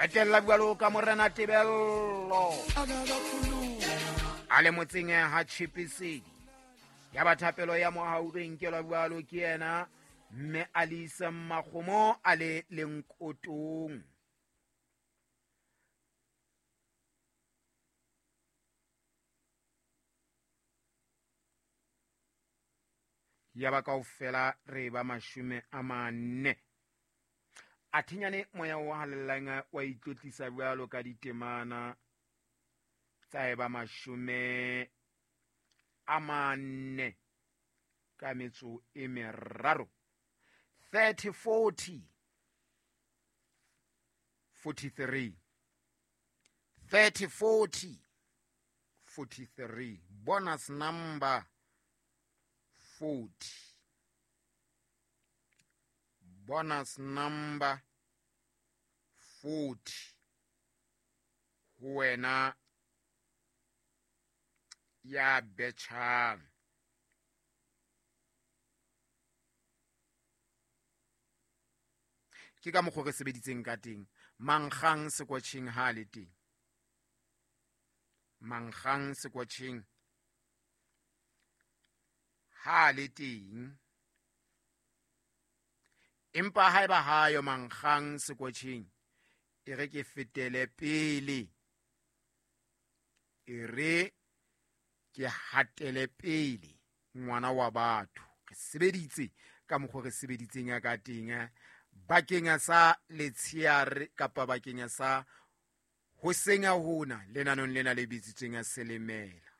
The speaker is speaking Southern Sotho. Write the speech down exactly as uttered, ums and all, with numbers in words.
Qetella jwalo ka Morena Tebello a le motseng ha Tjhepisedi. Ya ba thapelo ya mohau re nkelwa jwalo ke yena mme Alisa Makgomo a le Lenkotong. Ya ba kaofela re ba mashome a manne. A thinyane moya o halellang wa itlotlisa jwalo ka ditemana tsa e ba mashome a manne ka metso e meraro. thirty forty forty-three. thirty forty forty-three. Bonus number forty. Bonus number forty. Ho wena ya betjhang. Ke ka mokgwa re sebeditseng ka teng. Mankgang sekwatjheng ha le teng. Mankgang sekwatjheng ha le teng. Empa haeba hayo mankgang sekwatjheng, e re ke fetele pele. E re ke hatele pele ngwana wa batho. Re sebeditse ka mokgwa re sebeditseng ka teng bakeng sa letsheare kapa bakeng sa ho senya hona lenanong lena le bitsitsweng Selemela.